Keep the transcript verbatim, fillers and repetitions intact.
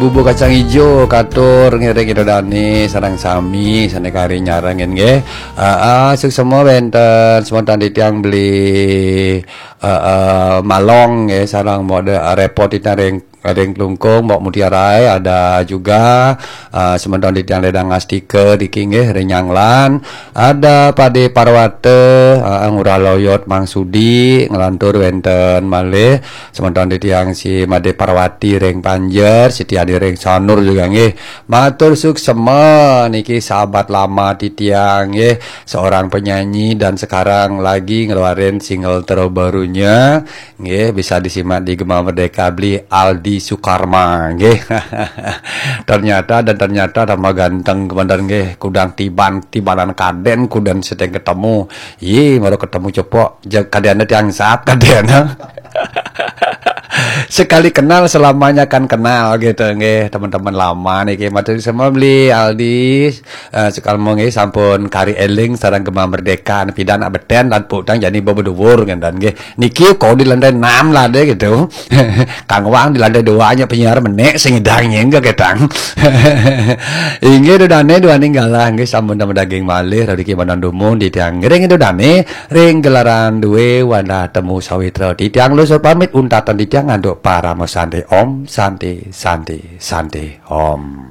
Bubur kacang ijo katur ngiring ida dane sareng sami sane kari nyarengin nggih. Heeh, suksma wenten semeton titiang beli heeh, Malong nggih sareng Mbok De, repot titiang ring ring Klungkung, Mbok Mutiara, ada juga eh, semeton titiang Ledang Astika niki nggih ring Nyanglan, ada Pade Parwata, heeh, Ngurah Loyot Mang Sudi, nglantur wenten malih semeton titiang si Made Parwati ring Panjer, Siti Adi ring Sanur juga nggih. Matur suksma niki sahabat lama titiang nggih, seorang penyanyi dan sekarang lagi ngeluarin single terbarunya nggih, bisa disimak di Gema Merdeka beli Aldi Sukarma nggih. Ternyata dan ternyata tambah ganteng kemandan nggih, kudang tiban tibanan kaden kuden seteng ketemu. Ye, baru ketemu cepok, kadena tiang sat kadena. Sekali kenal selamanya akan kenal gitu nggih, teman-teman lama niki. Matur semua beli Aldi, eh, sekali mau nggih sampun kari eling sareng Gema Merdeka, pidan nak beten lan putang jani bebedubur ngenten nggih. Niki kau di lantai enam lah deh gitu. Kang Wang di lantai dua nya penyiar menek sing ngedang nyengga ketang. Inggih dudane dua ninggalah nggih sampun daging malih rezeki banan dumun di tiang ngiring dudane ring gelaran duwe wadah temu sawitra. Titiang lusur pamit untatan titiang nganduk parama santi. Om santi santi santi om.